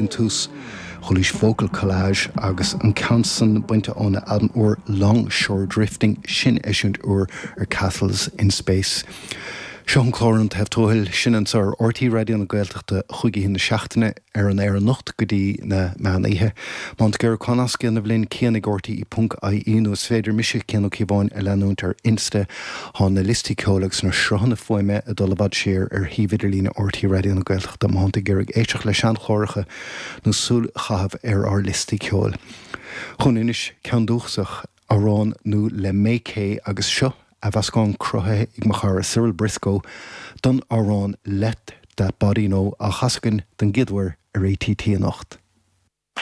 an tús, Chualaís Vocal Collage agus an ceann san bainte óna albam úr Long Shore Drifting, sin eisiúint úr ar Castles in Space. Seo an clár An Taobh Tuathail, sin anseo ar RTÉ Raidió na Gaeltachta chúig oíche na seachtaine. ar an aer anocht go dtí na meán oíche. Má tá tú ag iarraidh comhnasc a dhéanamh linn, Cian ag RTE ponc IE nó is féidir mise, Cian Ó Cíobháin, a leanúint ar Insta. Tá na liostaí ceoil agus na sruthanna fuaime ag dul i bhfad siar ar shuíomh idirlíne RTÉ Raidió na Gaeltachta má tá tú ag iarraidh éisteacht le seanchláracha nó súil a chaitheamh ar ár liostaí ceoil. Chugainn anois, ceann dúchasach, amhrán nua le May Kay agus seo athmheascán cruthaithe ag mo chara Cyril Briscoe don amhrán Let That Body Know á chasadh againn don gcéad uair ar ATT anocht.